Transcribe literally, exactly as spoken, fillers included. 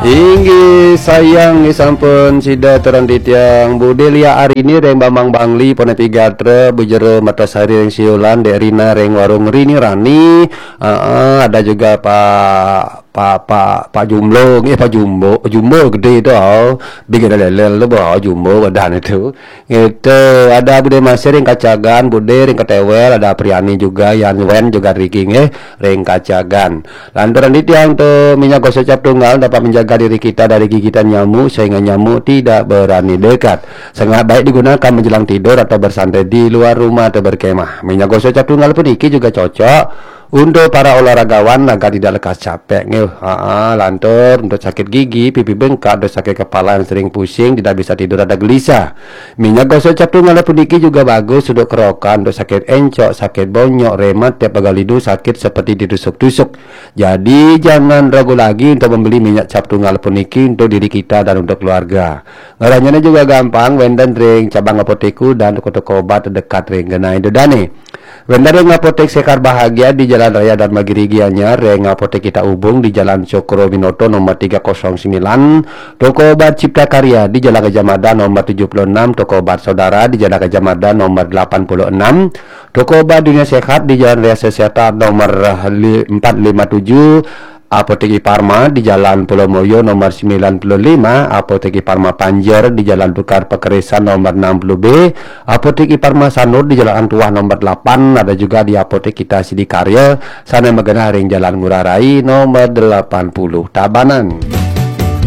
Inggih sayang, nggih sampun sida terang titiang. Bude Lia Arini ring Bambang Bangli, Pone Pigatra, Bu Jero Mertasari ring Siulan, Dek Rina ring Warung Rini Rani. Heeh, ada juga Pak, Pak, Pak, Pak Jumlo, nggih, Pak Jumbo, Jumbo gede itu, oh. Big ada lelel tu, oh, Jumbo badan itu. Gitu, ada Bude Masih ring Kacagan, Bude ring Ketewel, ada Priani juga, Yan Wen juga riki, nggih, ring Kacagan. Lantaran titiang tu minyak gosok cap tunggal dapat menjaga diri kita dari gigitan nyamuk sehingga nyamuk tidak berani dekat. Sangat baik digunakan menjelang tidur atau bersantai di luar rumah atau berkemah. Minyak gosok cap tunggal puniki juga cocok untuk para olahragawan agar tidak lekas capek. Nggih, ha, lantur untuk sakit gigi, pipi bengkak, untuk sakit kepala yang sering pusing, tidak bisa tidur, ada gelisah. Minyak gosok cap tunggal puniki juga bagus untuk kerokan, untuk sakit encok, sakit bonyok, rematik, pegal hidung, sakit seperti ditusuk-tusuk. Jadi jangan ragu lagi untuk membeli minyak cap tunggal puniki untuk diri kita dan untuk keluarga. Ngaranyane juga gampang, wenten ring cabang apotek dan toko-toko obat terdekat ring genah ida dane. Wenten ring Apotek Sekar Bahagia di Jalan Raya Dharmagiri Gianyar, ring Apotek Kita Ubung di Jalan Cokro Binoto nomor tiga kosong sembilan, toko obat Cipta Karya di Jalan Gajah Mada nomor tujuh puluh enam, toko obat Saudara di Jalan Gajah Mada nomor delapan puluh enam, toko obat Dunia Sehat di Jalan Raya Seseta nomor li-, empat lima tujuh, Apotek Iparma di Jalan Pulau Moyo nomor sembilan puluh lima, Apotek Iparma Panjer di Jalan Tukar Pekerisan nomor enam puluh B, Apotek Iparma Sanur di Jalan Antuah nomor delapan, ada juga di Apotek Kita Sidikarya, sana magenah ring Jalan Ngurah Rai nomor delapan puluh Tabanan.